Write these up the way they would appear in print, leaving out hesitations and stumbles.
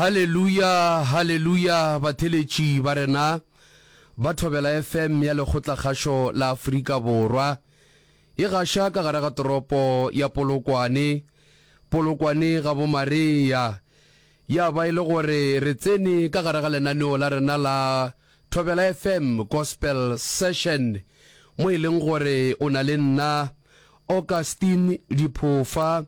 Haleluya, haleluya, batheletši ba rena ba Thobela FM ya Lekgotlakgašo la Afrika Borwa. E gaša ka gare ga toropo ya Polokwane, Polokwane ga bo Maria. Ya ba e le gore re tsene ka gare ga lenaneo la rena la Thobela FM Gospel Session, mo e leng gore o na le nna Augustine Diphofa,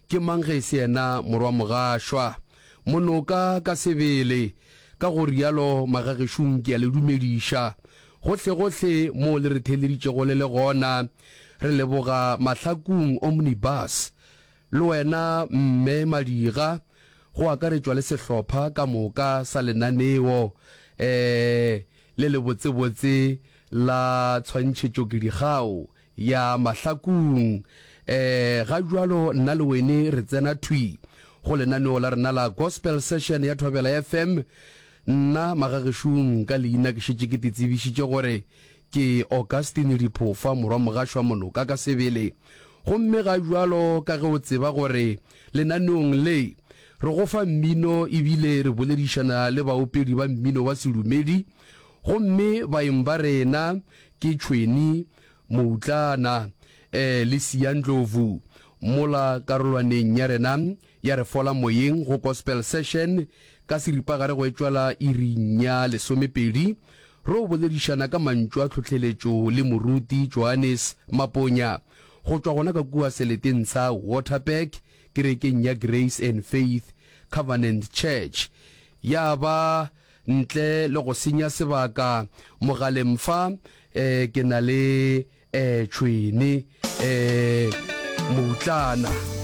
ke mang ge e se yena morwa Mogašwa, Monoka ka sebele. Ka go rialo magagešong ke a le dumediša gohlegohle moo le re theeleditšego le le gona. Re leboga Mahlakung Omnibus Le wena Mme Madira, go akaretšwa le sehlopha ka moka sa lenaneo le lebotsebotse la tshwantšhetšokedigao ya Mahlakung. Ga bjalo nna le wene re tsena thwi go lenaneo la rena la Gospel Session ya Thobela FM. Nna magagešong ka leina ke šetše ke te tsebišitše gore Ke Augustine Diphofa, morwa Mogašwa Monoka ka sebele. Gomme ga bjalo ka ge o tseba gore lenaneong le re go fa mmino ebile re boledišana le baopedi ba mmino wa sedumedi, gomme baeng ba rena ke Tšhweni Moutlana le Siya Ndlovu mola karolwaneng ya rena ya Re Fola Moyeng go Gospel Session ka seripagare go etšwa la iring ya lesomepedi Ro boledišana ka mantšu a tlhohleletšo le Moruti Johannes Maponya go tšwa gona ka kua seleteng sa Waterberg kerekeng ya Grace and Faith Covenant Church. Ya ba ntle le go senya sebaka mogaleng fa ke na le Tšhwene Moutlana.